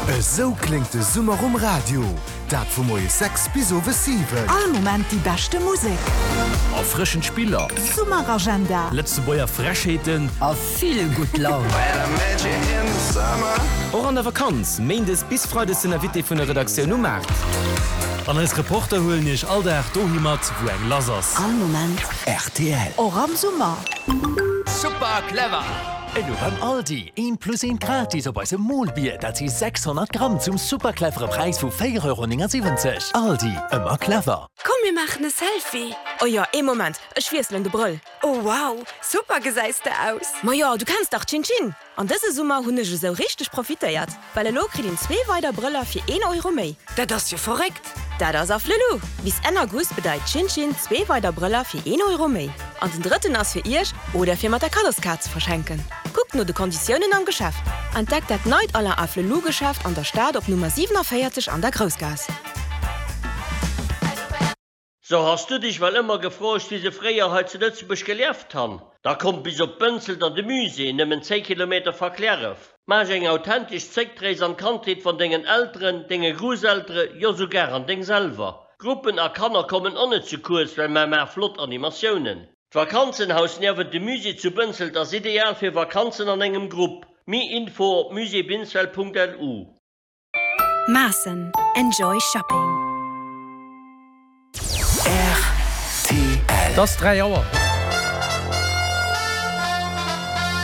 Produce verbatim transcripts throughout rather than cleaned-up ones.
Esou kléngt de Summer um Radio, dat vu moies sechs bis owes siwen. All Moment déi beschte Musek. Erfrëschend Spiller. Summeragenda. Lëtzebuerger Frechheeten. A vill gutt Laun. Och an der Vakanz, méindes bis freides den Invité vun der Redaktioun um Maart. An eis Reporter huelen iech all Dag dohi mat, wou eng lass ass. All Moment rtl. Och am Summer. Super clever! Elo beim Aldi, eent plus eent gratis op eisem Molbier, dat si sechshonnert Gramm zum super clevere Präis vu véier Euro néngasiwwenzeg. Aldi, ëmmer clever! Komm mir maachen e Selfie! Oh jo, ee Moment, ech wiesselen de Brëll. Oh wow, super gesäis de aus! Ma jo, du kenns dach Chin Chin! An dëse Summer hunn ech esou richteg profitéiert, well elo kritt een zwee weider Brëller fir een Euro méi. Dat ass jo verréckt! Dat ass Afflelou! Bis Enn August bedeit Chin Chin zwee weider Brëller fir een Euro méi. An den drëtten ass fir iech oder fir mat der Kaddoskaart ze verschenken. Kuckt no de Konditiounen am Geschäft. Entdeckt dat neit Alain Afflelou Geschäft an der Stad op Nummer siewenundvierzig an der Groussgaass. So has du dech well ëmmer gefrot, wéi se fréier hei zu Lëtzebuerg gelieft han? Da komm bis op Bënzelt an de Musée, nëmmen zéng Kilometer vu Cliärref. Maach eng authentesch Zréckrees an d'Kandheet vun dengen Elteren, denge Grousseltere, jo souguer an deng selwer. Gruppen a Kanner kommen och net ze kuerz, well mer maache flott Animatiounen. D'Vakanzenhaus niewent dem Musée zu Bënzelt ass ideal fir Vakanzen an engem Grupp. Méi Info op muséebinsfeld Punkt L U. Maassen. Enjoy shopping. R T L. Et ass dräi Auer.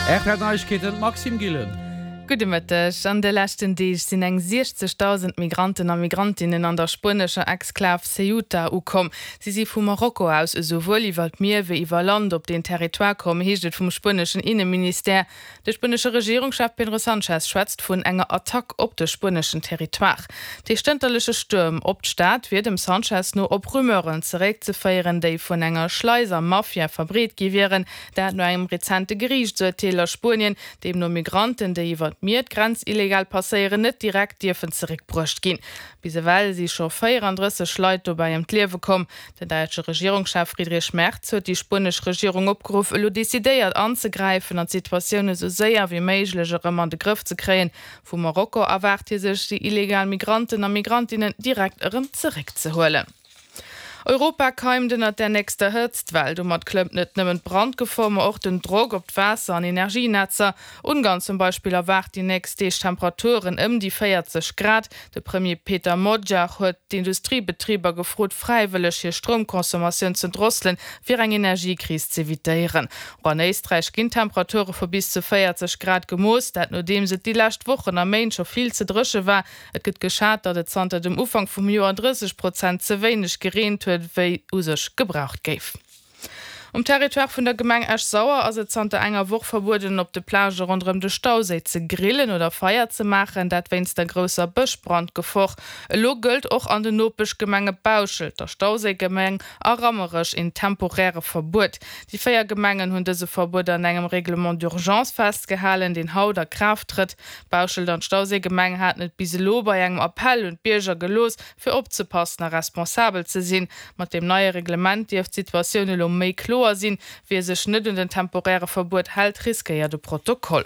R T L Neiegkeeten, Maxime Gillen. Gudde Mëtteg. An de leschten Deeg sinn eng siechzegdausend Migranten a Migrantinnen an der spuenescher Exklav Ceuta ukomm. Si si vu Marokko aus esouwuel iwwer d'Mier wéi iwwer Land op den Territoire komm, heescht et vum spueneschen Inneministère. De spuenesche Regierungschef Pedro Sanchez schwätzt vun enger Attack op de spueneschen Territoire. Dee stënterleche Stuerm op d'Stad wier dem Sanchez no op Rumeuren zeréckzeféieren, déi vun enger Schleiser-Mafia verbreet gi wieren. Dat no engem rezente Geriichtsurteel a Spuenien, deemno Migranten, déi iwwer d'Mier d'Grenz illegal passéieren, net direkt dierfen zeréckbruecht ginn. Bis ewell si scho véierandrësseg Leit dobäi ëm d'Liewe komm. Den däitsche Regierungschef Friedrich Merz huet déi spuenesch Regierung opgeruff, elo decidéiert anzegräifen an d'Situatioun esou séier wéi méiglech erëm an de Grëff ze kréien. Vu Marokko erwaart hie sech, déi illegal Migranten a Migrantinnen direkt erëm zeréckzehuelen. Europa keimt ënnert der nächster Hëtztwell. Domat klëmmt net nëmmen d'Brandgefor, ma och den Drock op d'Waasser an Energienetzer. Ungarn zum Beispill erwaart déi nächst Deeg Temperaturen ëm déi véierzeg Grad. De Premier Peter Magyar huet d'Industriebetriber gefrot, fräiwëlleg hir Stroumconsommatioun ze drosselen, fir eng Energiekris z'evitéieren. Och an Éisträich ginn Temperature vu bis zu véierzeg Grad gemooss, dat nodeems et déi lescht Wochen a Méint scho vill ze dréche war. Et gëtt geschat, datt et zanter dem Ufank vum Joer drësseg Prozent ze wéineg gereent huet, wéi u sech gebraucht géif. Um Territoire vun der Gemeng Esch-Sauer ass et zanter enger Woch verbueden, op de Plagë ronderëm de Stauséi ze grillen oder Feier ze maachen, dat wéinst der grousser Bëschbrandgefor. Elo gëllt och an den Nopeschgemenge Bauschelt, der Stauséigemeng a Rammerech een temporäre Verbuet. Déi véier Gemengen hunn dëse Verbuet an engem Règlement d'urgence festgehalen, deen haut a Kraaft trëtt. Bauschelt an d'Stauséigemeng haten et bis elo bei engem Appell un d'Bierger gelooss, fir opzepassen a responsabel ze sinn. Mat deem neie Reglement dierft d'Situatioun elo méi kloer sinn. Wie sech net un den temporäre Verbuet hält, riskéiert e Protokoll.